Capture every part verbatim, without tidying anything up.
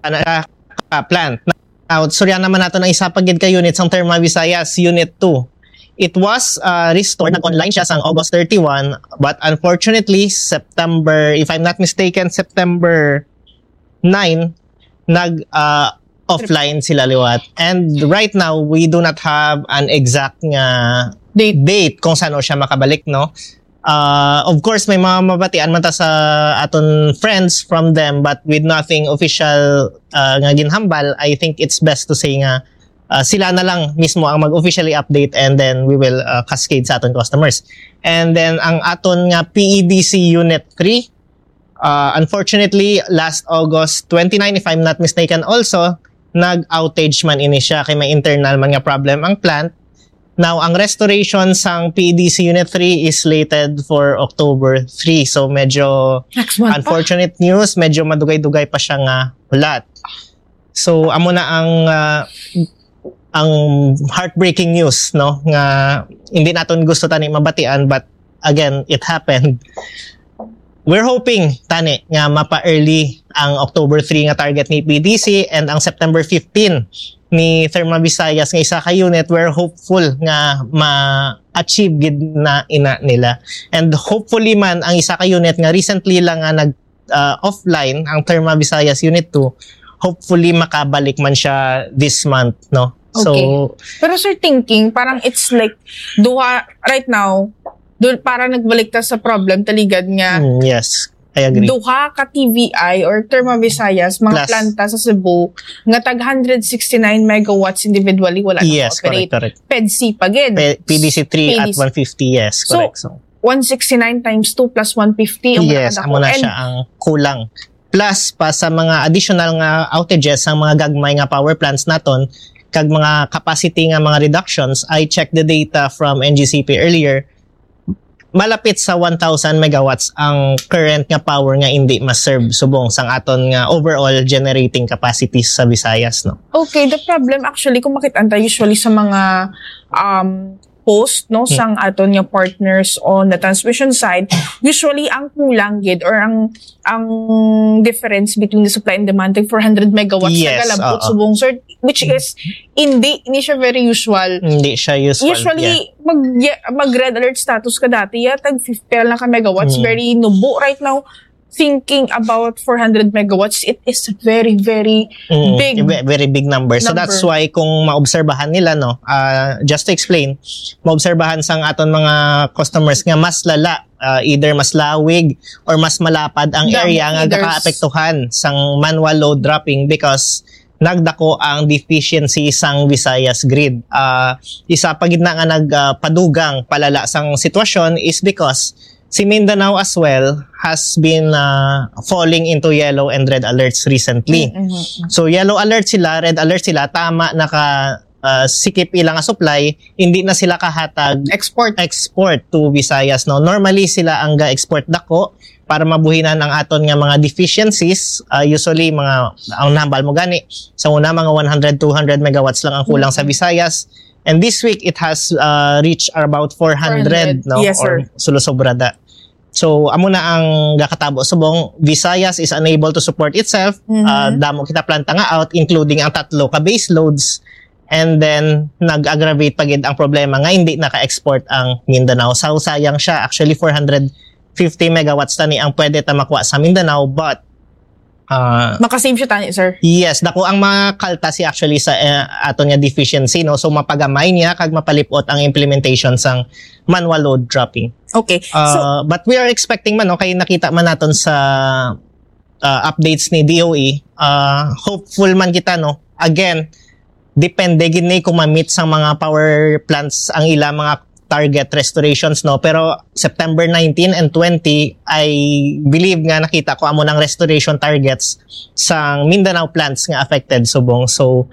ana siya ka plant. Now, surya naman nato ang isa pa gid ka unit sang Therma Visayas, Unit two. It was uh, restored, nag-online siya sang August thirty-one, but unfortunately, September, if I'm not mistaken, September nine, nag uh, offline sila liwat. And right now, we do not have an exact nga Date. date kung saan siya makabalik, no? Uh, of course, may mga mabatian man ta sa aton friends from them, but with nothing official uh, nga ginhambal, I think it's best to say nga uh, sila na lang mismo ang mag-officially update, and then we will uh, cascade sa aton customers. And then ang aton nga P E D C Unit three, uh, unfortunately, last August twenty-nine, if I'm not mistaken also, nag-outage man ini siya kay may internal man nga problem ang plant. Now, ang restoration sang P E D C Unit three is slated for October three. So, medyo Next month pa. Unfortunate news, medyo madugay-dugay pa siya nga hulat. So, amo na ang uh, ang heartbreaking news, no, nga hindi naton gusto tani mabatian, but again, it happened. We're hoping tani nga mapa-early ang October three nga target ni P D C and ang September fifteen ni Therma Visayas nga isa ka unit. We're hopeful nga ma-achieve gid na ina nila. And hopefully man, ang isa ka unit nga recently lang nga nag uh, offline, ang Therma Visayas Unit two, hopefully makabalik man siya this month, no? So, Okay. Pero sir, thinking, parang it's like, duha, right now, do, para nagbalik ta sa problem, taligad nga, mm, yes, I agree. Duha ka T V I or Therma Visayas, mga Plus. Planta sa Cebu, nga tag one hundred sixty-nine megawatts individually, wala na Yes, operate. Correct, correct. PEDC pa gid. P- P D C three at P D C. One fifty, yes, So, correct. So, One sixty-nine times two plus one fifty ang yes, nakadako. Amo na And siya ang kulang. Plus pa sa mga additional nga outages sa mga gagmay nga power plants naton, kag mga capacity nga mga reductions, I checked the data from N G C P earlier, malapit sa one thousand megawatts ang current nga power nga hindi ma-serve subong sang aton nga overall generating capacity sa Visayas, no? Okay, the problem actually, kung makita ta usually sa mga um post, no, Hmm. sang aton nga partners on the transmission side, usually ang kulang gid or ang ang difference between the supply and demand, tag four hundred megawatts Yes, nagalabot oo. Subong, sir, which is hindi ni siya very usual. Hindi siya usual. Usually, Yeah. mag, yeah, mag red alert status ka dati, ya, tag fifty lang ka megawatts, Mm. very nubo. Right now, thinking about four hundred megawatts, it is very, very Mm, big ve- very big number. So that's number. Why kung maobserbahan nila, no, uh, just to explain, maobserbahan sang aton mga customers nga mas lala, uh, either mas lawig or mas malapad ang Damo area nga feeders. Gakaapektuhan sang manual load dropping because nagdako ang deficiency sang Visayas grid. Uh, isa pa gid na nga nagpadugang palala sang sitwasyon is because si Mindanao as well has been uh, falling into yellow and red alerts recently. Mm-hmm. So yellow alert sila, red alert sila, tama naka uh, sikip ila nga supply, hindi na sila kahatag Export. Export to Visayas, no? Normally sila ang ga-export dako para mabuhinan ang aton nga mga deficiencies. Uh, usually mga ang nahambal mo gani sa una mga one hundred, two hundred megawatts lang ang kulang sa Visayas. And this week it has uh, reached about four hundred, Four hundred. No? Yes, Or sir. Sulusobra da. So amo na ang gakatabo subong Visayas is unable to support itself. Mhm. Uh, damo kita planta nga out, including ang tatlo ka base loads. And then nag-aggravate pa gid ang problema nga hindi naka-export ang Mindanao. So sayang siya. Actually four hundred fifty megawatts tani ang pwede ta makuha sa Mindanao, but uh, Makasave siya tani, sir. Yes, dako ang makaltas actually sa uh, aton nga deficiency, no? So mapagamay niya kag mapalipot ang implementation sang manual load dropping. Okay. So, Uh, but we are expecting man, no, kay nakita man naton sa uh, updates ni D O E, uh, hopeful man kita, no. Again, depende gid ni kung ma-meet sang mga power plants ang ila mga target restorations, no. Pero September nineteen and twenty, I believe nga nakita ko amo nang restoration targets sang Mindanao plants nga affected subong. So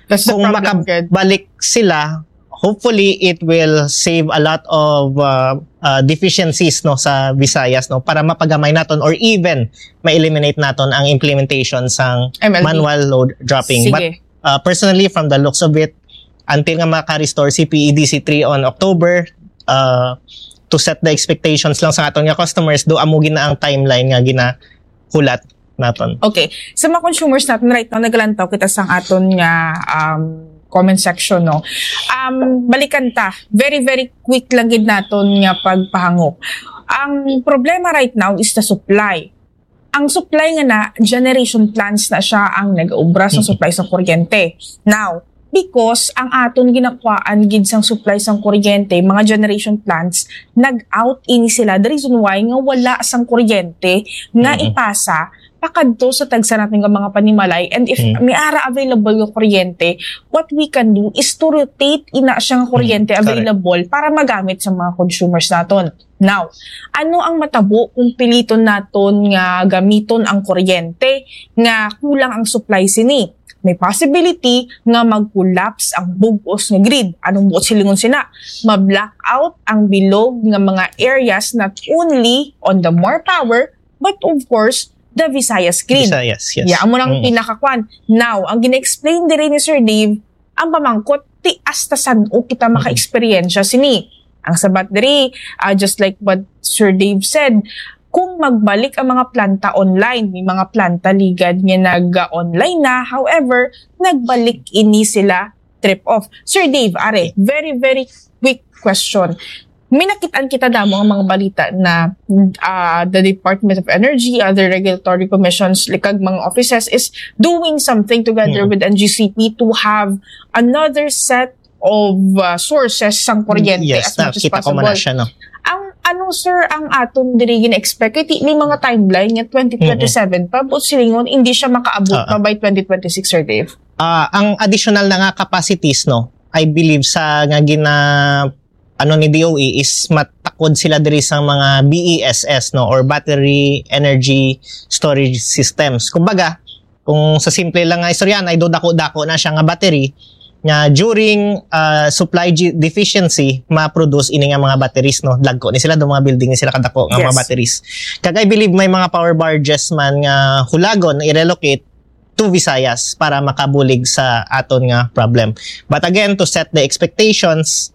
that's the kung problem, gid. Makabalik sila, hopefully it will save a lot of uh, uh, deficiencies, no, sa Visayas, no, para mapagamay naton or even ma-eliminate naton ang implementation sang M L D. Manual load dropping. Sige. But uh, personally, from the looks of it, until nga maka-restore si P E D C three on October, uh, to set the expectations lang sa aton nga customers, do amo gina ang timeline nga ginahulat. naton. Okay. Sa mga consumers natin right now, nagalantaw kita sa aton nga um, comment section, no? Um, balikan ta. Very, very quick lang gid naton nga pagpahangop. Ang problema right now is the supply. Ang supply nga na, generation plants na siya ang nag-ubra sa supply sa kuryente. Now, because ang aton ginakuhaan gid sang supply sang kuryente, mga generation plants, nag-out ini sila. The reason why nga wala sang kuryente nga ipasa pakadto sa tagsa natin nga mga panimalay. And if may ara available nga kuryente, what we can do is to rotate ina siya nga kuryente available para magamit sa mga consumers naton. Now, ano ang matabo kung piliton naton nga gamiton ang kuryente nga kulang ang supply sini? May possibility nga mag-collapse ang bug-os nga grid. Anong buot silingon sina? Ma-blackout ang bilog nga mga areas, not only on the More Power, but of course, the Visayas grid. Visayas, yes. Yeah, amo nang pinakakwan. Now, ang gina-explain diri ni Sir Dave, ang pamangkot, ti hasta san-o kita maka-eksperyensya sini. Ang sabat diri, ah, just like what Sir Dave said, kung magbalik ang mga planta online, may mga planta ligad nga nag-online na, however, nagbalik ini sila trip off. Sir Dave, are, very, very quick question. May nakitaan kita damo ang mga balita na ah, the Department of Energy, other regulatory commissions, like, kag mga offices is doing something together with N G C P to have another set of uh, sources sang kuryente Yes, as much as nakita ko man possible. Na siya, no? Ang ano, sir, ang aton diri gina-expect? Kay ti-, may mga timeline nga twenty twenty-seven pa, but silingon, hindi siya makaabot Ah. pa by twenty twenty-six, Sir Dave. Ah, ang additional na nga capacities, no, I believe sa nga gina ano ni D O E is matakod sila diri sa mga B E S S, no, or battery energy storage systems. Kumbaga, kung sa simple lang nga istoryahan, ay do dako-dako na siya nga battery nga during ah, supply gi- deficiency ma-produce ini nga mga batteries, no. Dagko ni sila, do mga building ni sila kadako nga mga Yes. Batteries. Kag I believe may mga power barges man nga hulagon i-relocate to Visayas para makabulig sa aton nga problem. But again, to set the expectations,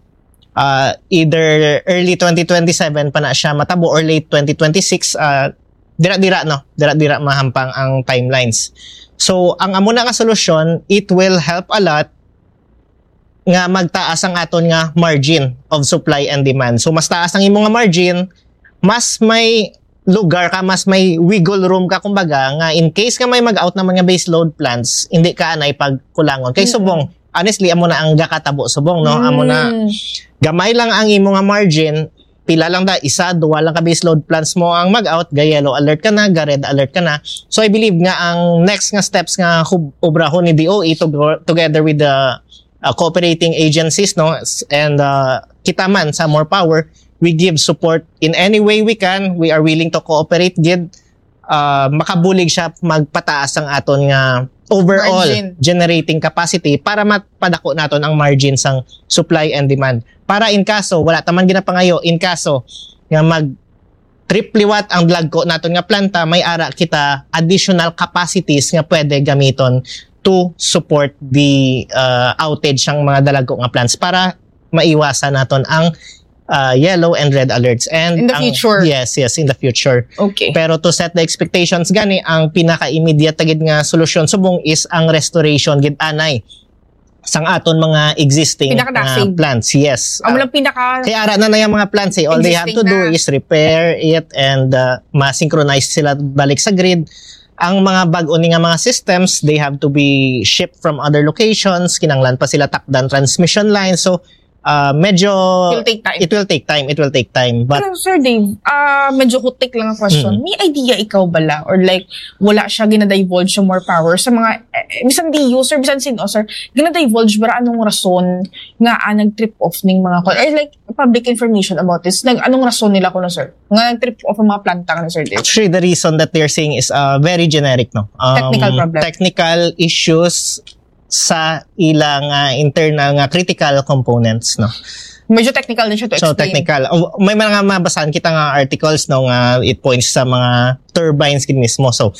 uh, either early twenty twenty-seven pa na siya matabo or late twenty twenty-six, uh, dira-dira, no, dira-dira mahampang ang timelines. So, ang amo na nga solusyon, it will help a lot nga magtaas ang aton nga margin of supply and demand. So, mas taas ang imo nga margin, mas may lugar ka, mas may wiggle room ka, kumbaga, nga in case nga may mag-out naman nga base load plants, hindi ka anay pagkulangon. Kay subong, honestly, amo na ang gakatabo subong, no? Amo na, gamay lang ang imo nga margin, pila lang da, isa, duwa lang ka base load plants mo ang mag-out, ga yellow alert ka na, ga red alert ka na. So I believe nga ang next nga steps nga hub- obrahon ni D O E to- together with the uh, cooperating agencies, no, s- and uh, kita man sa More Power, we give support in any way we can. We are willing to cooperate gid, uh, makabulig siya magpataas ang aton nga overall Margin. Generating capacity para mapadako naton ang margin sang supply and demand. Para in kaso wala ta man ginapangayo, in kaso nga mag trip liwat ang dagko naton nga planta, may ara kita additional capacities nga pwede gamiton to support the uh, outage sang mga dalagko nga plants para maiwasan naton ang uh, yellow and red alerts and In the ang- future. Yes, yes, in the future. Okay. Pero to set the expectations gani, ang pinaka-immediate gid nga solusyon subong is ang restoration gid anay sang aton mga existing Pinaka-dasig. uh, plants. Yes. Amo lang pinaka Kaya ara na na yung mga plants eh. All they have to Existing do na. is repair it and uh, ma-synchronize sila balik sa grid. Ang mga bag-o ni nga mga systems, they have to be shipped from other locations. Kinanglan pa sila takdan transmission lines. So, uh, medyo It will take time. It will take time. It will take time. But Pero Sir Dave, ah medyo hutik lang ang question. Mm. May idea ikaw bala or like wala siya gina-divulge sa More Power sa mga eh, bisan D U, sir, bisan sino, sir, gina-divulge ba anong rason nga ah, nag-trip off ning mga kon- or like public information about this? Nag anong rason nila kuno, sir? Nga nag-trip off ang mga planta nga, Sir Dave? Actually, the reason that they're saying is uh, very generic, no? Um, Technical problem. Technical issues sa ilang uh, internal nga critical components, no? Medyo technical din siya to So explain. Technical. Oh, may mga mabasahan kita nga articles, no, nga it points sa mga turbines gid mismo. So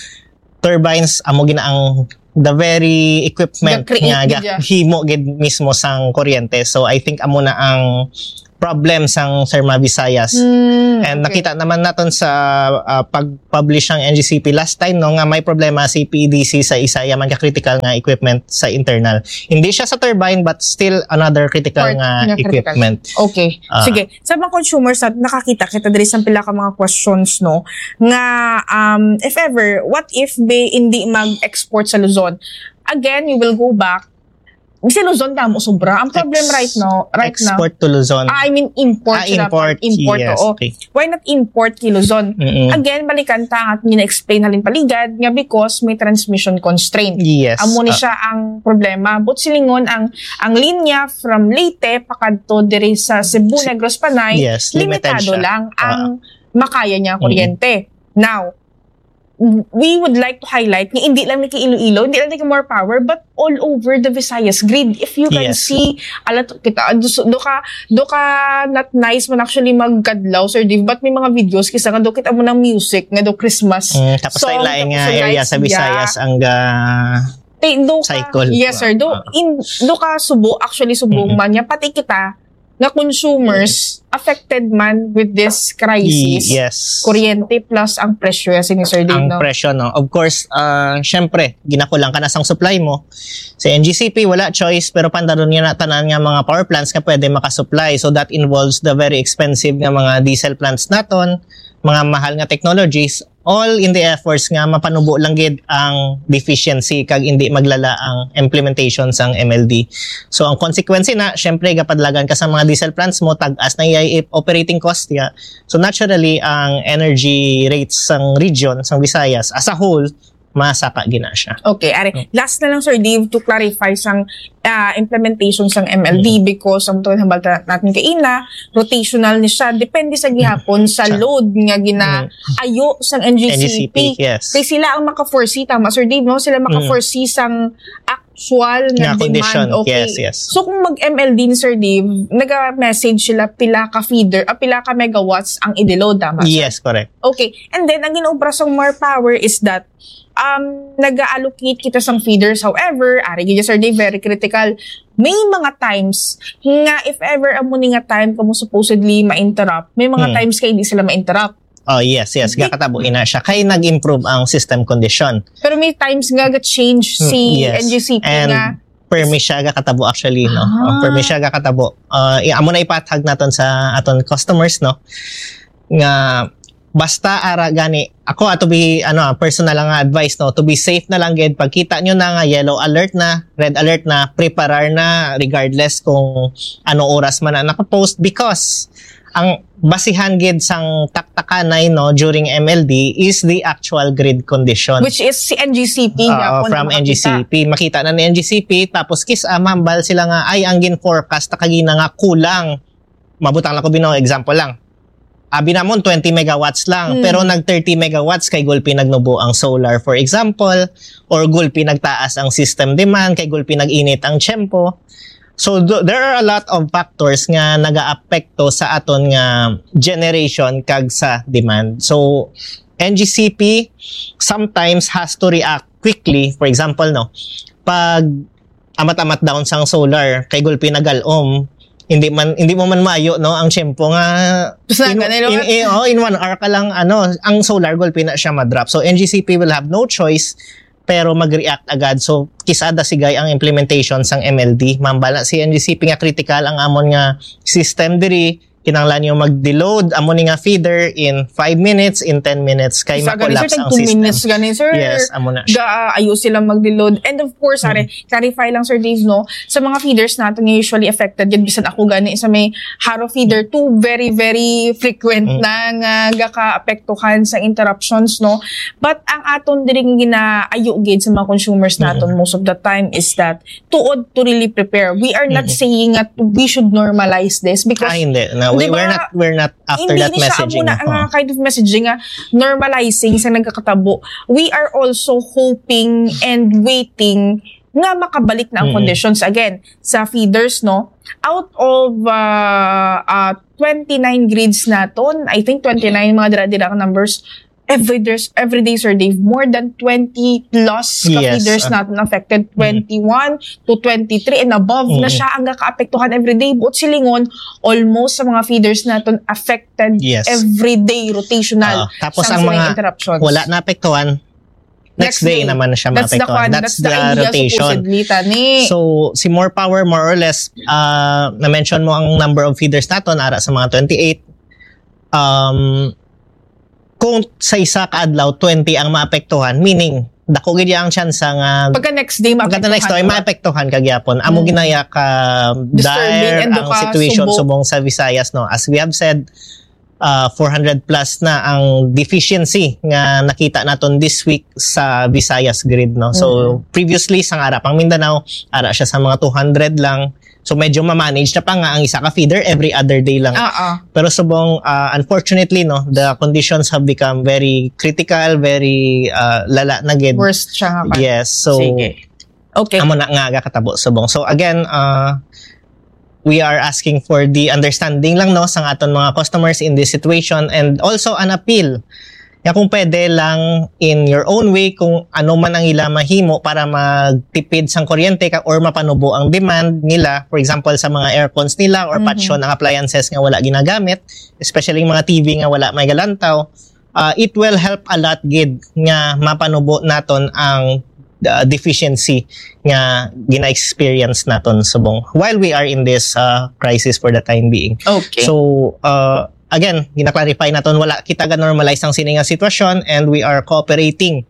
turbines amo gina ang the very equipment Ga-create nga gid siya. Himo gid mismo sang kuryente. So I think amo na ang problem sang Therma Visayas. Mm, And okay. Nakita naman naton sa ah, pag-publish ang N G C P last time, no, nga may problema si P E D C sa isa yaman ka critical nga equipment sa internal. Hindi siya sa turbine, but still another critical Part nga nga critical. equipment. Okay. Ah. Sige. Sa mga consumers, sa, nakakita kita diri sa pila ka mga questions, no, nga um, if ever, what if be hindi mag-export sa Luzon? Again, you will go back. Sa Luzon, damo sobra. Ang problem Ex- right now, right now, Export to Luzon. Ah, I mean, import Ah, sila. import. Import, Yes. oo. Okay. Why not import kay Luzon? Mm-mm. Again, balikan ta ang ating gina-explain halin paligad nga because may transmission constraint. Yes. Amo ni Ah, siya ang problema. But silingon ang ang linya from Leyte pakadto diri sa Cebu, Si- Negros, Panay, yes, limited limitado siya. lang Ah. ang makaya niya Mm-mm. kuryente. Now, we would like to highlight nga hindi lang ni kay Iloilo, hindi lang ni kay More Power, but all over the Visayas grid. If you can Yes. see, ala to, kita, do, do ka, do ka not nice man actually magkadlaw, Sir Dave, but may mga videos kisa nga do kita mo ng music nga do Christmas Mm, tapos song, lain-lain nga tapos area lights, sa Visayas yeah. ang ga Te, do ka, Cycle. Yes, sir. Do, Ah. in, do ka Subo, actually Subo Mm-mm. man niya, pati kita nga consumers affected man with this crisis. Yes. Kuryente plus ang presyo, yes, ni Sir Dave, Ang no? presyo, no? Of course, uh, syempre, ginakulang ka na sang supply mo. Sa N G C P, wala choice, pero pandaron niya na tanan nga mga power plants nga pwede makasupply. So that involves the very expensive nga mga diesel plants naton, mga mahal nga technologies, all in the efforts nga mapanubo lang gid ang deficiency kag hindi maglala ang implementation sang M L D. So ang consequence na, syempre, gapadlagan ka sa mga diesel plants mo, tag-as na iyay operating cost ya. So naturally, ang energy rates sang region, sang Visayas as a whole, masaka gina siya. Okay, are, last na lang, Sir Dave, to clarify sang ah, implementation sang M L D, because ang tuwing hambal ta- natin kaina, rotational ni siya, depende sa gihapon sa Sa- load nga ginaayo sang N G C P. N G C P, yes. Kay sila ang maka-foresee, tama, Sir Dave, no? Sila maka-foresee sang actual nga Nga condition. demand. Okay. Yes, yes. So kung mag-M L D ni Sir Dave, naga-message sila pila ka feeder, ah, pila ka megawatts ang i-deload, tama, sir? Yes, correct. Okay. And then, ang ginaobra sa More Power is that um, nag-allocate kita sang feeders. However, ari gid, Sir Dave, very critical. May mga times nga if ever amo ni nga time kamo supposedly ma-interrupt, may mga Hmm. times kay hindi sila ma-interrupt. Oh, yes, yes. Di- Gakatabo ina siya. Kay nag-improve ang system condition. Pero may times nga ga-change si Hmm, yes. N G C P And nga permi siya gakatabo actually, no? Ah. Oh, permi siya gakatabo. Uh, i- amo na ipatag naton sa aton customers, no? Nga basta ara gani, ako ato bi ano, ah, personal lang nga advice, no, to be safe na lang gid, pagkita nyo na nga yellow alert na, red alert na, preparar na regardless kung ano oras man na nakapost, because ang basihan gid sang taktakanay, no, during M L D is the actual grid condition. Which is si N G C P nga Oo, po from nakakita. N G C P. Makita na ni N G C P, tapos kis-, ah, mambal sila nga, ay, ang gin-forecast ta kagina nga kulang. Mabutang lang ko bino, example lang. Abi namon twenty megawatts lang, Hmm. pero nag thirty megawatts kay gulpi nagnubo ang solar, for example, or gulpi nagtaas ang system demand, kay gulpi nag-init ang tiyempo. So, do, there are a lot of factors nga nagaapekto sa aton nga generation kag sa demand. So, N G C P sometimes has to react quickly. For example, no, pag amat-amat down sang solar, kay gulpi nagalom, hindi man, hindi mo man maayo, no, ang tiyempo nga Basta in, ganun, no? in, in, oh, in one hour ka lang, ano, ang solar gulpi na siya madrop. So N G C P will have no choice pero mag-react agad. So kisada sigay ang implementation sang M L D. Mambala si N G C P nga critical ang amon nga system diri. Kinahanglan yung mag-deload amo ni nga feeder in five minutes, in ten minutes kay Sa gani, sir, ma-collapse tag ang two system. minutes gani, sir. Yes, amo na siya. Ga, ayo sila mag-deload. And of course, are, clarify lang, Sir Dave, no? Sa mga feeders natin nga usually affected, yan bisan ako gani sa may Haro feeder, two very, very frequent Mm. na nga gaka-apektuhan sa interruptions, no? But ang aton diri nga ginaayo gid sa mga consumers naton most of the time is that tuod to really prepare. We are not Mm. saying that we should normalize this because Ah, hindi. No, we, Di ba, we're not, we're not after hindi that ni siya messaging. amo na Oo. nga kind of messaging nga normalizing sa nagkakatabo. We are also hoping and waiting nga makabalik na ang Mm-mm. conditions again sa feeders, no? Out of uh, uh, twenty-nine grids naton, I think twenty-nine mga dira-dira ang numbers, every there's every day, Sir Dave, more than twenty plus ka Yes, feeders ah. natin affected, twenty-one to twenty-three and above na Mm. siya ang nakaapektuhan every day. Buot silingon, almost sa mga feeders natin affected Yes. every day, rotational. Ah, tapos sang ang siling mga interruptions. Wala na apektuhan, next, Next day, day. naman na siya That's the maapektuhan. kwan, That's, that's the the, idea, rotation. Supposedly, tani. So, si More Power, more or less, uh, na-mention mo ang number of feeders naton, ara sa mga twenty-eight. Um, kung sa isa ka adlaw, twenty ang maapektuhan, meaning, dako gid ang chance nga Pagka next day, pagka the next day, maapektuhan. Maapektuhan ka gyapon. Amo Mm. ginaya ka Disturbing dire and ang ka situation subo. Subong sa Visayas, no. As we have said, uh, four hundred plus na ang deficiency nga nakita naton this week sa Visayas grid, no. So, Mm-hmm. Previously, sa ara pang Mindanao, ara siya sa mga two hundred lang. So, medyo ma-manage na pa nga ang isa ka feeder every other day lang. Ah, ah. Pero subong, uh, unfortunately, no, the conditions have become very critical, very uh, lala na gid. Worst siya nga pa. Yes, so Sige. Okay. Amo na nga gakatabo subong. So again, uh, we are asking for the understanding lang, no, sa aton mga customers in this situation, and also an appeal. Ya, kung pwede lang, in your own way, kung ano man ang ila mahimo para magtipid sang kuryente ka, or mapanubo ang demand nila, for example, sa mga aircons nila or Mhm. patyon ang appliances nga wala ginagamit, especially yung mga T V nga wala may galantaw, uh, it will help a lot gid nga mapanubo naton ang uh, deficiency nga gina-experience naton subong while we are in this uh, crisis for the time being. Okay. So, uh, again, gina-clarify naton, wala kita ga-normalize ang sini nga sitwasyon, and we are cooperating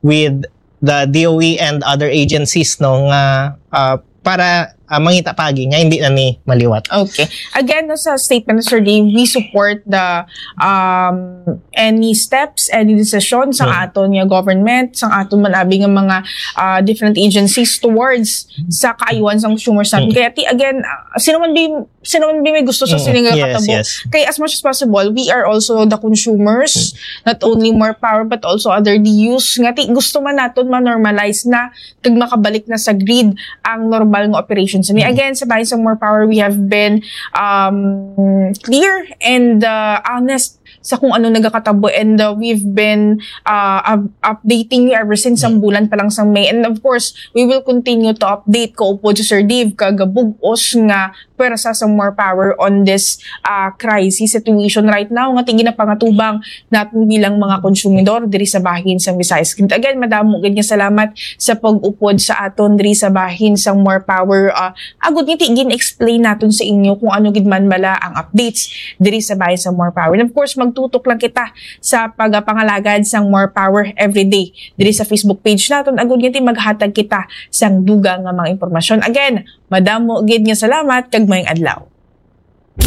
with the D O E and other agencies, no, nga uh, para uh, mangita pagi nga hindi na ni maliwat. Okay. Again, no, sa statement ni Sir Dave, we support the um any steps, any decision sa Mm. aton nga government, sa aton man abi nga mga uh, different agencies towards sa kaayuhan sa consumers natin. Mm. Kaya ti again, uh, sino man bi sino man bi may gusto sa Mm. sini nga Yes, katabo. yes. Kay as much as possible, we are also the consumers, not only More Power but also other D Us. Nga ti gusto man naton ma-normalize na kag makabalik na sa grid ang normal nga operation sa ni. Mm. Again, sa Bahin sa More Power, we have been um, clear and uh, honest sa kung ano nagakatabo, and uh, we've been uh, up- updating you ever since ang bulan pa lang sa May, and of course we will continue to update kaupod si Sir Dave kag bug-os nga pwersa sa More Power on this uh, crisis situation right now nga ti ginapangatubang natin bilang mga konsumidor diri sa bahin sa Visayas Grid. Again, madamo gid nga salamat sa pag-upod sa aton diri sa bahin sa More Power. Uh, agud nga ti gin-explain naton sa inyo kung ano gid man bala ang updates diri sa bahin sa More Power. And of course, magtutok lang kita sa pagapangalagad sang More Power everyday diri sa Facebook page naton. Agud nga ti maghatag kita sang dugang nga mga impormasyon. Again, madamo gid nga salamat kag maayong adlaw.